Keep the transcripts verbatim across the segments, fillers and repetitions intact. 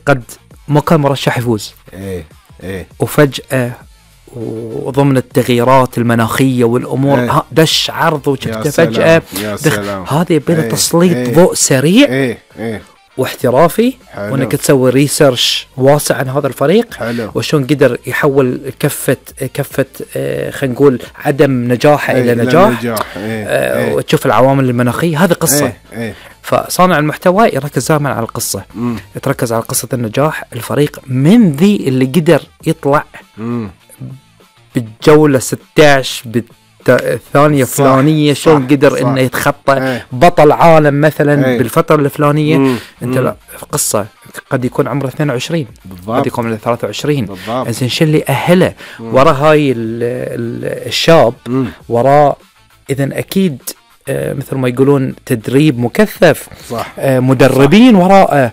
قد ما كان مرشح يفوز ايه ايه وفجأة وضمن التغييرات المناخية والأمور ايه دش عرض وشفته فجأة دخل. هذا يبي ايه تسليط ايه ضوء سريع ايه ايه واحترافي، وانك تسوي ريسيرش واسع عن هذا الفريق. حلو. وشون قدر يحول كفة كفة آه خلينا نقول عدم نجاحه ايه الى نجاح, نجاح. ايه آه ايه وتشوف العوامل المناخية. هذه قصة. ايه ايه. فصانع المحتوى يركز دائما على القصة، مم. يتركز على قصة النجاح الفريق من ذي اللي قدر يطلع مم. بالجولة ستة عشر بالثانية فلانية، شلون قدر صح. انه يتخطى ايه. بطل عالم مثلا ايه. بالفترة الفلانية. مم. انت لا قصة قد يكون عمره اثنين وعشرين بالضبط. قد يكون عمره ثلاثة وعشرين. إذن شو اللي أهله وراء هاي ال ال الشاب وراء إذن أكيد آه مثل ما يقولون تدريب مكثف صح. آه مدربين وراءه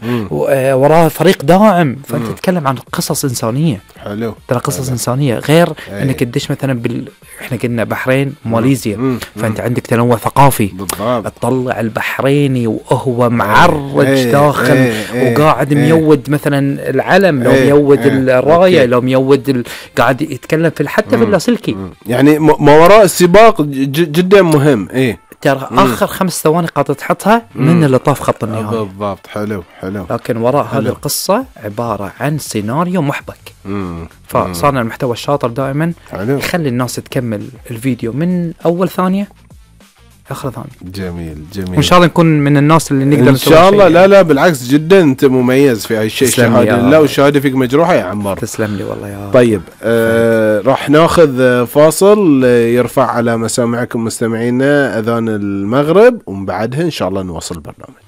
آه وراء فريق داعم. فأنت تتكلم عن قصص إنسانية. حلو. ترى قصص حلو. إنسانية غير ايه. إنك تدش مثلا بال إحنا قلنا بحرين ماليزيا مم. فأنت عندك تنوع ثقافي بالضبط. تطلع البحريني وهو معرج ايه. داخل ايه. وقاعد ايه. ميود مثلا العلم لو ايه. ميود ايه. الراية ايه. لو ميود ال... قاعد يتكلم في حتى في اللاسلكي. يعني ما وراء السباق جدا مهم. ايه ترى آخر خمس ثواني قاعدة تحطها من اللي طاف خط النهاية بالضبط. حلو حلو. لكن وراء هذه القصة عبارة عن سيناريو محبك. مم. فصانع المحتوى الشاطر دائما حلو. يخلي الناس تكمل الفيديو من أول ثانية آخر ثانية. جميل جميل. وإن شاء الله نكون من الناس اللي نقدر إن شاء الله. لا لا بالعكس جدا أنت مميز في هاي الشيء. شهادة لله والشهادة فيك مجروحة يا عمار. تسلم لي والله يا طيب آه راح ناخذ فاصل يرفع على مسامعكم مستمعينا أذان المغرب ومن بعدها إن شاء الله نواصل البرنامج.